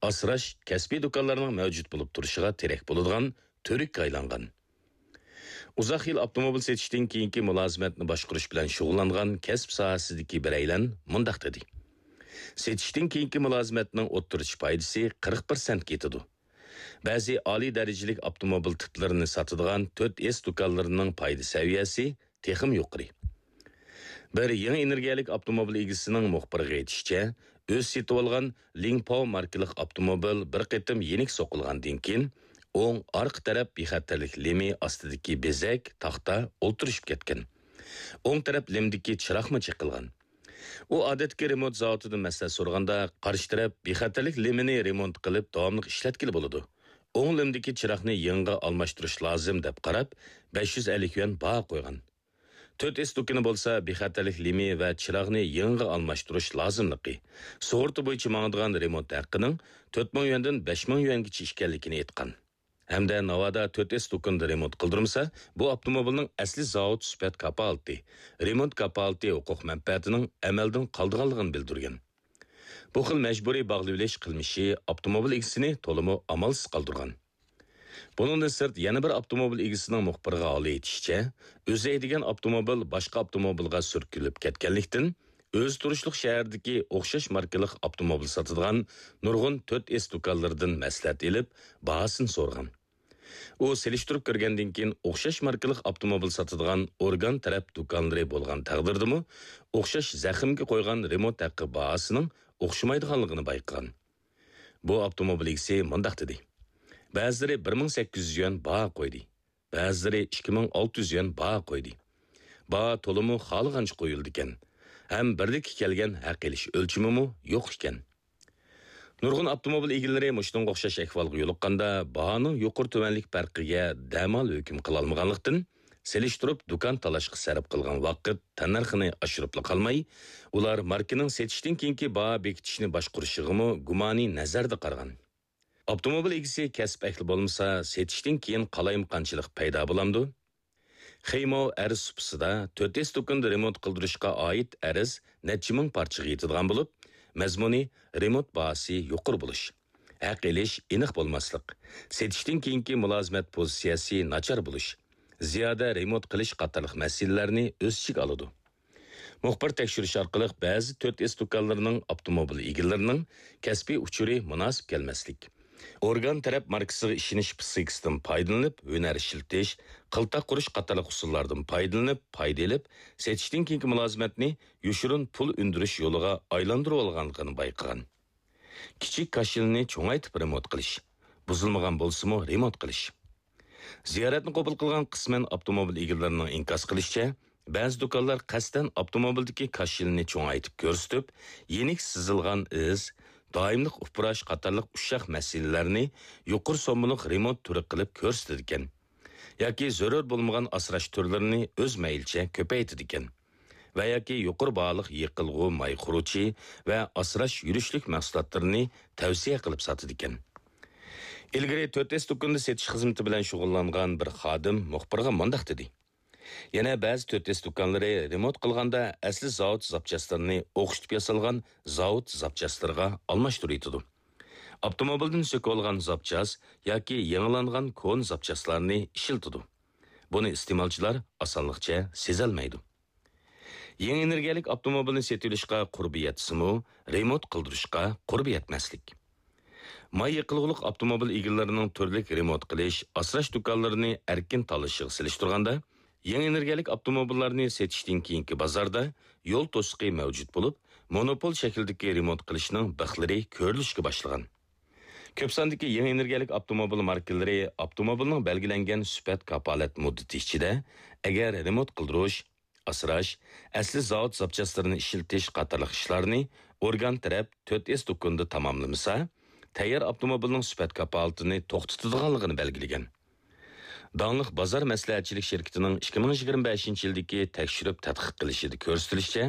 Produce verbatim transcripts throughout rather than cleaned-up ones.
ئاسراش، كەسپىي دۇكانلارنىڭ مەۋجۇت بولۇپ تۇرۇشىغا تىرەك بولىدىغان تۈۋرۈككە ئايلانغان. ئۇزاق يىل ئاپتوموبىل سېتىشتىن كېيىنكى مۇلازىمەتنى باشقۇرۇش بىلەن شۇغۇللانغان كەسىپ ساھەسىدىكى بىرەيلەن مۇنداق دېدى: سېتىشتىن كېيىنكى مۇلازىمەتنىڭ ئوتتۇرىچە پايدىسى قىرىق پىرسەنتكە يېتىدۇ. بەزى ئالىي دەرىجىلىك ئاپتوموبىل تىپلىرىنى ساتىدىغان تۆت ئېس دۇكانلىرىنىڭ پايدا سەۋىيەسى تېخىمۇ يۇقىرى. بىر يېڭى ئېنېرگىيەلىك ئاپتوموبىل ئىگىسىنىڭ مۇخبىرغا ئېيتىشىچە، ئۆزى سېتىۋالغان لىڭپاۋ ماركىلىق ئاپتوموبىل بىر قېتىم يېنىك سوقۇلغاندىن كېيىن، ئوڭ ئارقا تەرەپ بىخەتەرلىك لېمى ئاستىدىكى بېزەك، تاختا ئولتۇرۇشۇپ كەتكەن. ئوڭ تەرەپ لېمدىكى چىراغمۇ چېقىلغان. ئۇ ئادەتتىكى رېمونت زاۋۇتىدىن مەسلىھەت سورىغاندا، قارشى تەرەپ بىخەتەرلىك لېمىنى رېمونت قىلىپ داۋاملىق ئىشلەتكىلى بولىدۇ. ئوڭ لېمدىكى چىراغنى يېڭىغا ئالماشتۇرۇش لازىم دەپ قاراپ، بەش يۈز ئەللىك يۈەن باھا قويغان. تۆت ئېس دۇكىنى بولسا بىخەتەرلىك لېمى ۋە چىراغنى يېڭىغا ئالماشتۇرۇش لازىملىقى، سۇغۇرتا بويىچە ماڭىدىغان رېمونت ھەققىنىڭ تۆت مىڭ يۈەندىن بەش مىڭ يۈەنگىچە ئىكەنلىكىنى ئېيتقان. ھەمدە ناۋادا تۆت ئېس دۇكىنىدا رېمونت قىلدۇرمىسا، بۇ ئاپتوموبىلنىڭ ئەسلى زاۋۇت سۈپەت كاپالىتى، رېمونت كاپالىتى ھوقۇق مەنپەئەتىنىڭ ئەمەلدىن قالىدىغانلىقىنى بىلدۈرگەن. بۇ خىل مەجبۇرىي باغلىۋېلىش قىلمىشى ئاپتوموبىل ئىگىسىنى تولىمۇ ئامالسىز قالدۇرغان. بۇنىڭدىن سىرت، يەنە بىر ئاپتوموبىل ئىگىسىنىڭ مۇخبىرغا ھالى ئېيتىشىچە، ئۆزى ھەيدىگەن ئاپتوموبىل باشقا ئاپتوموبىلغا سۈركىلىپ كەتكەنلىكتىن، ئۆزى تۇرۇشلۇق شەھەردىكى ئوخشاش ماركىلىق ئاپتوموبىل ساتىدىغان نۇرغۇن تۆت ئېس دۇكانلىرىدىن مەسلىھەت ئېلىپ، باھاسىنى سورىغان. ئۇ سېلىشتۇرۇپ كۆرگەندىن كېيىن، ئوخشاش ماركىلىق ئاپتوموبىل ساتىدىغان ئورگان تەرەپ دۇكانلىرى بولغان تەقدىردىمۇ، ئوخشاش زەخىمگە قويغان رېمونت ھەققى باھاسىنىڭ ئوخشىمايدىغانلىقىنى بايقىغان. بۇ ئاپتوموبىل ئىگىسى مۇنداق دېدى: بەزىلىرى بىر مىڭ سەككىز يۈز يۈەن باھا قويدى، بەزىلىرى ئىككى مىڭ ئالتە يۈز يۈەن باھا قويدى. باھا تولىمۇ خالىغانچە قويۇلىدىكەن ھەم بىرلىككە كەلگەن ھەق ئېلىش ئۆلچىمىمۇ يوق ئىكەن. نۇرغۇن ئاپتوموبىل ئىگىلىرى مۇشۇنىڭغا ئوخشاش ئەھۋالغا يولۇققاندا، باھانىڭ يۇقىرى تۆۋەنلىك پەرقىگە دەمال ھۆكۈم قىلالمىغانلىقتىن، سېلىشتۇرۇپ دۇكان تالاشقا سەرپ قىلغان ۋاقىت تەننەرخىنى ئاشۇرۇپلا قالماي، ئۇلار ماركىنىڭ سېتىشتىن كېيىنكى باھا بېكىتىشنى باشقۇرۇشىغىمۇ گۇمانىي نەزەردە قارىغان. ئاپتوموبىل ئىگىسى كەسىپ ئەھلى بولمىسا، سېتىشتىن كېيىن قالايمىقانچىلىق پەيدا بولامدۇ؟ خېيمو ئەرز سۇپىسىدا تۆت ئېس دۇكىنىدا رېمونت قىلدۇرۇشقا ئائىت ئەرز نەچچە مىڭ پارچىغا يېتىدىغان بولۇپ، مەزمۇنى رېمونت باھاسى يۇقىرى بولۇش، ھەق ئېلىش ئېنىق بولماسلىق، سېتىشتىن كېيىنكى مۇلازىمەت پوزىتسىيەسى ناچار بولۇش، زىيادە رېمونت قىلىش قاتارلىق مەسىلىلەرنى ئۆز ئىچىگە ئالىدۇ. مۇخبىر تەكشۈرۈش ئارقىلىق بەزى تۆت ئېس دۇكانلىرىنىڭ ئاپتوموبىل ئىگىلىرىنىڭ كەسپىي ئۇچۇرى مۇناسىپ كەلمەسلىك، ئورگان تەرەپ ماركىسىغا ئىشىنىش پىسخىكىسىدىن پايدىلىنىپ، ھۈنەر ئىشلىتىش، قىلتاق قۇرۇش قاتارلىق ئۇسۇللاردىن پايدىلىنىپ، پايدا ئېلىپ، سېتىشتىن كېيىنكى مۇلازىمەتنى يوشۇرۇن پۇل ئۈندۈرۈش يولىغا ئايلاندۇرۇۋالغانلىقىنى بايقىغان. كىچىك كاشىلنى چوڭايتىپ رېمونت قىلىش، بۇزۇلمىغان بولسىمۇ رېمونت قىلىش. زىيارەتنى قوبۇل قىلغان قىسمەن ئاپتوموبىل ئىگىلىرىنىڭ ئىنكاس قىلىشىچە، بەزى دۇكانلار قەستەن ئاپتوموبىلدىكى كاشىلنى چوڭايتىپ كۆرسىتىپ، يېنىك سىزىلغان ئىز، دائىملىق ئۇپراش قاتارلىق ئۇششاق مەسىلىلەرنى يۇقىرى سوممىلىق رېمونت تۈرى قىلىپ كۆرسىتىدىكەن. ياكى زۆرۈر بولمىغان ئاسراش تۈرلىرىنى ئۆز مەيلىچە كۆپەيتىدىكەن. ۋە ياكى يۇقىرى باھالىق يېقىلغۇ ماي خۇرۇچى ۋە ئاسراش يۈرۈشلۈك مەھسۇلاتلىرىنى تەۋسىيە قىلىپ ساتىدىكەن. ئىلگىرى تۆت ئېس دۇكىنىدا سېتىش خىزمىتى بىلەن شۇغۇللانغان بىر خادىم مۇخبىرغا مۇنداق دېدى: يەنە بەزى تۆت ئېس دۇكانلىرى رېمونت قىلغاندا ئەسلى زاۋۇت زاپچاسلىرىنى ئوخشىتىپ ياسالغان زاۋۇت زاپچاسلىرىغا ئالماشتۇرۇۋېتىدۇ. ئاپتوموبىلدىن سۆكۈۋالغان زاپچاس ياكى يېڭىلانغان كونا زاپچاسلارنى ئىشلىتىدۇ. بۇنى ئىستېمالچىلار ئاسانلىقچە سېزەلمەيدۇ. يېڭى ئېنېرگىيەلىك ئاپتوموبىلنى سېتىۋېلىشقا قۇربى يەتسىمۇ، رېمونت قىلدۇرۇشقا قۇربى يەتمەسلىك. ماي يېقىلغۇلۇق ئاپتوموبىل ئىگىلىرىنىڭ تۈرلۈك رېمونت قىلىش، ئاسراش دۇكانلىرىنى ئەركىن تاللىشىغا سېلىشتۇرغاندا، يېڭى ئېنېرگىيەلىك ئاپتوموبىللارنى سېتىشتىن كېيىنكى بازاردا يول توسۇقى مەۋجۇت بولۇپ، مونوپول شەكلىدىكى رېمونت قىلىشنىڭ بىخلىرى كۆرۈلۈشكە باشلىغان. كۆپ ساندىكى يېڭى ئېنېرگىيەلىك ئاپتوموبىل ماركىلىرى ئاپتوموبىلنىڭ بەلگىلەنگەن سۈپەت كاپالەت مۇددىتى ئىچىدە، ئەگەر رېمونت قىلدۇرۇش، ئاسراش، ئەسلى زاۋۇت زاپچاسلىرىنى ئىشلىتىش قاتارلىق ئىشلارنى ئورگان تەرەپ تۆت ئېس دۇكىنىدا تاماملىمىسا، تەييار ئاپتوموبىلنىڭ سۈپەت كاپالىتىنى توختىتىدىغانلىقىنى بەلگىلىگەن. داڭلىق بازار مەسلىھەتچىلىك شىركىتىنىڭ ئىككى مىڭ يىگىرمە بەشىنچى يىلدىكى تەكشۈرۈپ تەتقىق قىلىشىدا كۆرسىتىلىشىچە،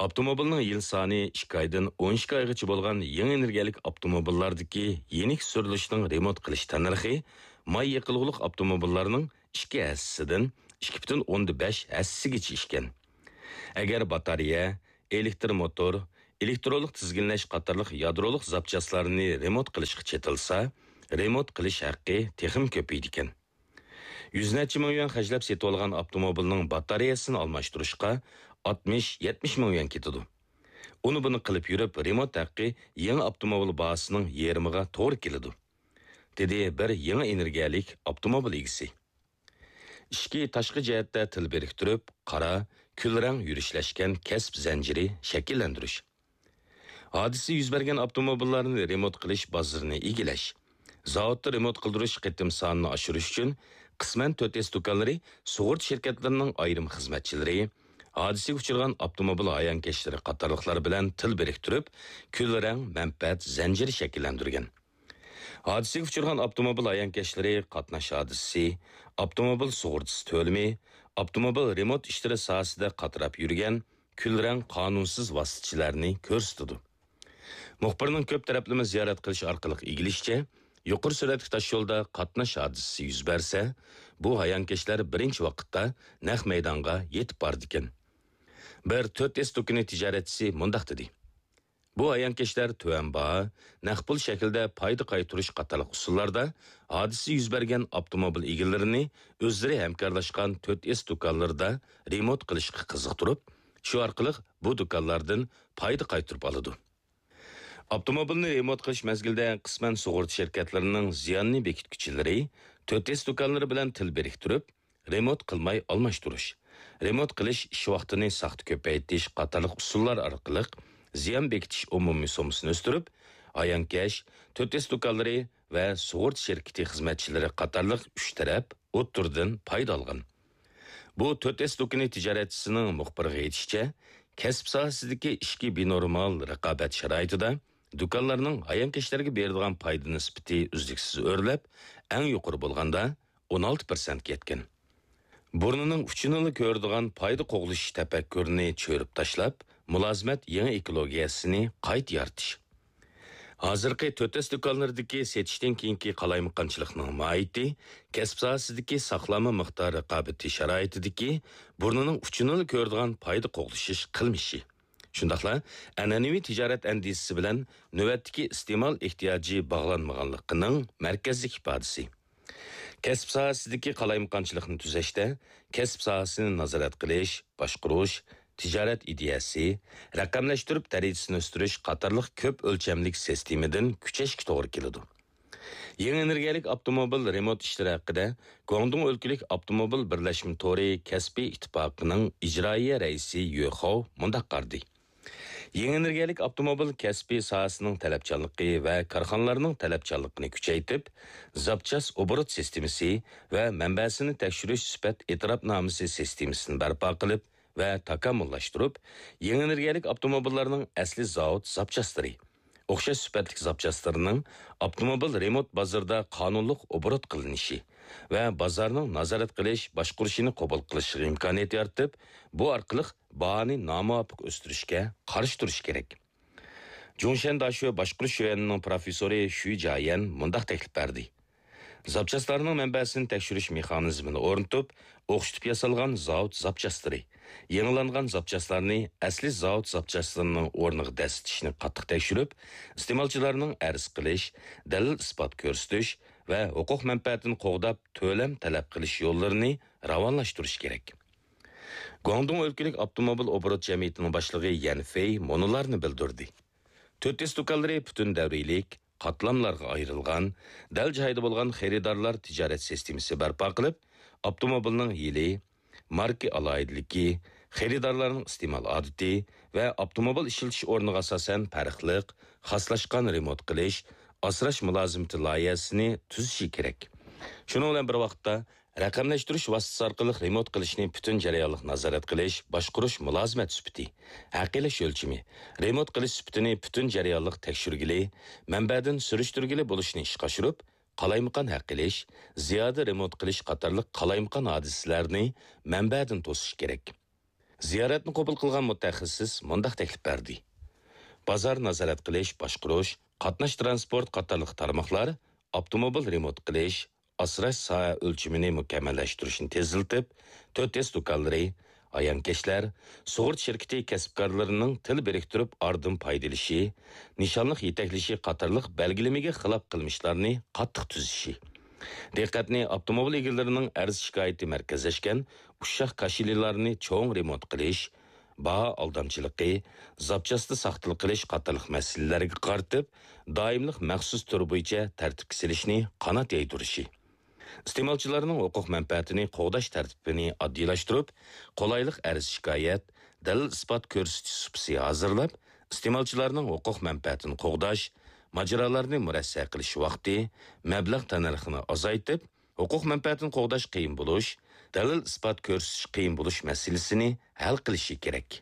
ئاپتوموبىلنىڭ يىل سانى ئىككى ئايدىن ئون ئىككى ئايغىچە بولغان يېڭى ئېنېرگىيەلىك ئاپتوموبىللاردىكى يېنىك سۈرۈلۈشنىڭ رېمونت قىلىش تەننەرخى ماي يېقىلغۇلۇق ئاپتوموبىللارنىڭ ئىككى ھەسسىسىدىن ئىككى پۈتۈن ئوندىن بەش ھەسسىگىچە ئىكەن. ئەگەر باتارېيە، ئېلېكتر موتور، ئېلېكترونلۇق تىزگىنلەش قاتارلىق يادرولۇق زاپچاسلارنى رېمونت قىلىشقا چېتىلسا، رېمونت قىلىش ھەققى تېخىمۇ كۆپىيىدىكەن. يۈز نەچچە مىڭ يۈەن خەجلەپ سېتىۋالغان ئاپتوموبىلنىڭ باتارېيەسىنى ئالماشتۇرۇشقا ئاتمىش، يەتمىش مىڭ يۈەن كېتىدۇ. ئۇنى بۇنى قىلىپ يۈرۈپ، رېمونت ھەققى يېڭى ئاپتوموبىل باھاسىنىڭ يېرىمىغا توغرا كېلىدۇ. دېدى بىر يېڭى ئېنېرگىيەلىك ئاپتوموبىل ئىگىسى. ئىچكى، تاشقى جەھەتتە تىل بىرىكتۈرۈپ، قارا، كۈل رەڭ يۈرۈشلەشكەن كەسىپ زەنجىرى شەكىللەندۈرۈش. ھادىسە يۈز بەرگەن ئاپتوموبىللارنى رېمونت قىلىش بازىرىنى ئىگىلەش. زاۋۇتتا رېمونت قىلدۇرۇش قېتىم سانىنى ئاشۇرۇش ئۈچۈن قىسمەن تۆت ئېس دۇكانلىرى سۇغۇرتا شىركەتلىرىنىڭ ئايرىم خىزمەتچىلىرى، ھادىسىگە ئۇچرىغان ئاپتوموبىل ھايانكەشلىرى قاتارلىقلار بىلەن تىل بىرىكتۈرۈپ، كۈل رەڭ مەنپەئەت زەنجىرى شەكىللەندۈرگەن. ھادىسىگە ئۇچرىغان ئاپتوموبىل ھايانكەشلىرى قاتناش ھادىسىسى، ئاپتوموبىل سۇغۇرتىسى تۆلىمى، ئاپتوموبىل رېمونت ئىشلىرى ساھەسىدە قاتراپ يۈرگەن كۈل رەڭ قانۇنسىز ۋاسىتىچىلەرنى كۆرسىتىدۇ. مۇخبىرنىڭ كۆپ تەرەپلىمە زىيارەت قىلىش ئارقىلىق ئىگىلىشىچە، يۇقىرى سۈرئەتلىك تاشيولدا قاتناش ھادىسىسى يۈز بەرسە، بۇ ھايانكەشلەر بىرىنچى ۋاقىتتا نەق مەيدانغا يېتىپ بارىدىكەن. بىر تۆت ئېس دۇكىنى تىجارەتچىسى مۇنداق دېدى: بۇ ھايانكەشلەر تۆۋەن باھا، نەق پۇل شەكلىدە پايدا قايتۇرۇش قاتارلىق ئۇسۇللاردا ھادىسە يۈز بەرگەن ئاپتوموبىل ئىگىلىرىنى ئۆزلىرى ھەمكارلاشقان تۆت ئېس دۇكانلىرىدا رېمونت قىلىشقا قىزىقتۇرۇپ، شۇ ئارقىلىق بۇ دۇكانلاردىن پايدا قايتۇرۇپ ئالىدۇ. ئاپتوموبىلنى رېمونت قىلىش مەزگىلىدە قىسمەن سۇغۇرتا شىركەتلىرىنىڭ زىياننى بېكىتكۈچىلىرى تۆت ئېس دۇكانلىرى بىلەن تىل بىرىكتۈرۈپ، رېمونت قىلماي ئالماشتۇرۇش، رېمونت قىلىش ئىش ۋاقتىنى ساختا كۆپەيتىش قاتارلىق ئۇسۇللار ئارقىلىق زىيان بېكىتىش ئومۇمىي سوممىسىنى ئۆستۈرۈپ، ھايانكەش، تۆت ئېس دۇكانلىرى ۋە سۇغۇرتا شىركىتى خىزمەتچىلىرى قاتارلىق ئۈچ تەرەپ ئوتتۇرىدىن پايدا ئالغان. بۇ تۆت ئېس دۇكىنى تىجارەتچىسىنىڭ مۇخبىرغا ئېيتىشىچە، كەسىپ ساھەسىدىكى ئىچكى بىنورمال رىقابەت شارائىتىدا دۇكانلارنىڭ ھايانكەشلەرگە بېرىدىغان پايدا نىسبىتى ئۈزلۈكسىز ئۆرلەپ، ئەڭ يۇقىرى بولغاندا ئون ئالتە پىرسەنتكە يەتكەن. بۇرنىنىڭ ئۇچىنىلا كۆرىدىغان پايدا قوغلىشىش تەپەككۇرىنى چۆرۈپ تاشلاپ، مۇلازىمەت يېڭى ئېكولوگىيەسىنى قايتا يارىتىش. ھازىرقى تۆت ئېس دۇكانلىرىدىكى سېتىشتىن كېيىنكى قالايمىقانچىلىقنىڭ ماھىيىتى، كەسىپ ساھەسىدىكى ساقلانما مىقدار رىقابىتى شارائىتىدىكى بۇرنىنىڭ ئۇچىنىلا كۆرىدىغان پايدا قوغلىشىش قىلمىشى. شۇنداقلا ئەنئەنىۋى تىجارەت ئەندىزىسى بىلەن نۆۋەتتىكى ئىستېمال ئېھتىياجى باغلانمىغانلىقىنىڭ مەركەزلىك ئىپادىسى. كەسىپ ساھەسىدىكى قالايمىقانچىلىقنى تۈزەشتە، كەسىپ ساھەسىنى نازارەت قىلىش، باشقۇرۇش، تىجارەت ئىدىيەسى، رەقەملەشتۈرۈپ دەرىجىسىنى ئۆستۈرۈش قاتارلىق كۆپ ئۆلچەملىك سىستېمىدىن كۈچەشكە توغرا كېلىدۇ. يېڭى ئېنېرگىيەلىك ئاپتوموبىل رېمونت ئىشلىرى ھەققىدە گۇاڭدۇڭ ئۆلكىلىك ئاپتوموبىل بىرلەشمە تورى كەسپىي ئىتتىپاقىنىڭ ئىجرائىيە رەئىسى يۆ خاۋ مۇنداق قارىدى. يېڭى ئېنېرگىيەلىك ئاپتوموبىل كەسپى ساھەسىنىڭ تەلەپچانلىقى ۋە كارخانىلارنىڭ تەلەپچانلىقىنى كۈچەيتىپ، زاپچاس ئوبوروت سىستېمىسى ۋە مەنبەسىنى تەكشۈرۈش سۈپەت ئېتىراپنامىسى سىستېمىسىنى بەرپا قىلىپ ۋە تاكامۇللاشتۇرۇپ، يېڭى ئېنېرگىيەلىك ئاپتوموبىللارنىڭ ئەسلى زاۋۇت زاپچاسلىرى، ئوخشاش سۈپەتلىك زاپچاسلىرىنىڭ ئاپتوموبىل رېمونت بازىرىدا قانۇنلۇق ئوبوروت قىلىنىشى ۋە بازارنىڭ نازارەت قىلىش، باشقۇرۇشىنى قوبۇل قىلىشىغا ئىمكانىيەت يارىتىپ، بۇ ئارقىلىق باھانى نامۇۋاپىق ئۆستۈرۈشكە قارشى تۇرۇش كېرەك. جۇڭشەن داشۆ باشقۇرۇش شۆيۈەنىنىڭ پروفېسسورى شۈي جيەن مۇنداق تەكلىپ بەردى: زاپچاسلارنىڭ مەنبەسىنى تەكشۈرۈش مېخانىزمىنى ئورنىتىپ، ئوخشىتىپ ياسالغان زاۋۇت زاپچاسلىرى، يېڭىلانغان زاپچاسلارنى ئەسلى زاۋۇت زاپچاسلىرىنىڭ ئورنىغا دەسسىتىشنى قاتتىق تەكشۈرۈپ، ئىستېمالچىلارنىڭ ئەرز قىلىش، دەلىل-ئىسپات كۆرسىتىش ۋە ھوقۇق مەنپەئەتىنى قوغداپ تۆلەم تەلەپ قىلىش يوللىرىنى راۋانلاشتۇرۇش كېرەك. گۇاڭدۇڭ ئۆلكىلىك ئاپتوموبىل ئوبوروت جەمئىيىتىنىڭ باشلىقى يەن فېي مۇنۇلارنى بىلدۈردى: تۆت ئېس دۇكانلىرى پۈتۈن دەۋرىيلىك، قاتلاملارغا ئايرىلغان، دەل جايىدا بولغان خېرىدارلار تىجارەت سىستېمىسى بەرپا قىلىپ، ئاپتوموبىلنىڭ يىلى، ماركا ئالاھىدىلىكى، خېرىدارلارنىڭ ئىستېمال ئادىتى ۋە ئاپتوموبىل ئىشلىتىش ئورنىغا ئاساسەن پەرقلىق، خاسلاشقان رېمونت قىلىش، ئاسراش مۇلازىمىتى لايىھەسىنى تۈزۈشى كېرەك. شۇنىڭ بىلەن بىر ۋاقىتتا، رەقەملەشتۈرۈش ۋاسىتىسى ئارقىلىق رېمونت قىلىشنى پۈتۈن جەريانلىق نازارەت قىلىش، باشقۇرۇش مۇلازىمەت سۈپىتى، ھەقىقىي ئۆلچىمى، رېمونت قىلىش سۈپىتىنى پۈتۈن جەريانلىق تەكشۈرگىلى، مەنبەدىن سۈرۈشتۈرگىلى بولۇشنى ئىشقا ئاشۇرۇپ، قالايمىقان ھەق ئېلىش، زىيادە رېمونت قىلىش قاتارلىق قالايمىقان ھادىسىلەرنى مەنبەدىن توسۇش كېرەك. زىيارەتنى قوبۇل قىلغان مۇتەخەسسىس مۇنداق تەكلىپ بەردى: بازار نازارەت قىلىش، باشقۇرۇش، قاتناش ترانسپورت قاتارلىق تارماقلار ئاپتوموبىل رېمونت قىلىش، ئاسراش ساھە ئۆلچىمىنى مۇكەممەللەشتۈرۈشنى تېزلىتىپ، تۆت ئېس دۇكانلىرى، ھايانكەشلەر، سۇغۇرتا شىركىتى كەسىپكارلىرىنىڭ تىل بىرىكتۈرۈپ ئاردىن پايدىلىشى، نىشانلىق يېتەكلىشى قاتارلىق بەلگىلىمىگە خىلاپ قىلمىشلارنى قاتتىق تۈزىشى. دىققەتنى ئاپتوموبىل ئىگىلىرىنىڭ ئەرز-شىكايىتى مەركەزلەشكەن ئۇششاق كاشىلىلارنى چوڭ رېمونت قىلىش، باھا ئالدامچىلىقى، زاپچاستا ساختىلىق قىلىش قاتارلىق مەسىلىلەرگە قارىتىپ، دائىملىق مەخسۇس تۈر بويىچە تەرتىپكە سېلىشنى قانات يايدۇرۇشى. ئىستېمالچىلارنىڭ ھوقۇق مەنپەئەتىنى قوغداش تەرتىپىنى ئاددىيلاشتۇرۇپ، قولايلىق ئەرز-شىكايەت، دەلىل-ئىسپات كۆرسىتىش سۇپىسى ھازىرلاپ، ئىستېمالچىلارنىڭ ھوقۇق مەنپەئەتىنى قوغداش، ماجىرالارنى مۇرەسسە قىلىش ۋاقتى، مەبلەغ تەننەرخىنى ئازايتىپ، ھوقۇق مەنپەئەتىنى قوغداش قىيىن بولۇش، دەلىل-ئىسپات كۆرسىتىش قىيىن بولۇش مەسىلىسىنى ھەل قىلىشى كېرەك.